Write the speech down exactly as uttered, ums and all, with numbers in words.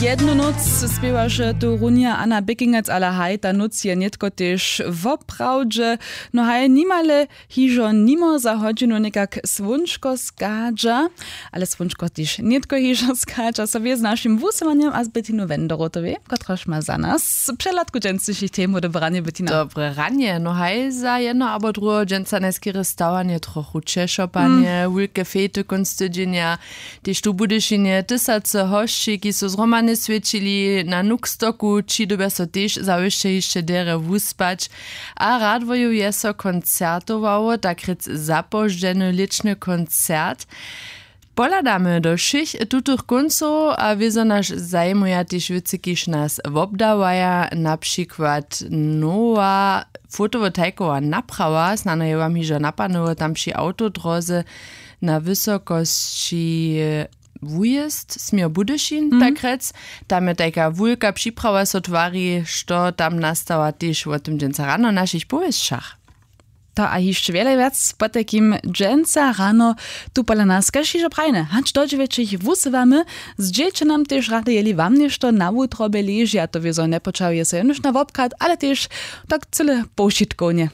Jednu nóc spěwaše tu runja Anna Běkingac, ale haj, ta nóc je nětko tež woprawdźe. No haj, nimale hižo nimo za hodźinu někak słónčko schadźa, ale słónčko tež nětko hižo schadźa, so wě z našim wusyłanjem a z Bettinu Wenderotowej, kotraž ma za nas přehladku dźensnišich temow do branje. Bettina, dobre ranje. No haj, za jedno abo druheho dźensa najskerje stawanje trochu ćešopanje, wulke fejty kónc tydźenja. Tež tu w Budyšinje tysacy hosći, kiž su zhromadnje swjećili na Nuxtoku, ći dyrbja so tež zawěsće hišće derje wuspać. A Radworju je so koncertowało, takrěc zapoždźeny lěćny koncert. Pohladamy do wšěch tutych kóncow a wězo naš zajimuja tež wěcy, kiž nas wobdawaja, na přikład nowa fotowotajkowa naprawa, snano je wam hižo napadnyło, tam při awtodróze na wysokosći wujězd směr Budyšin, takrjec. Tam je tajka wulka připrawa so twari, što tam nastała, tež wo tym dźensa rano w našich powěsćach. To a hišće wjele wjac potajkim dźensa rano. Tu pola nas kaž hižo prajne hač do dźewjećich wusywamy. Zdźělće nam tež rady, jeli wam něšto na wutrobje leži, a to wězo njepočahuje so jenož na wobchad, ale tež tak cyle powšitkownje.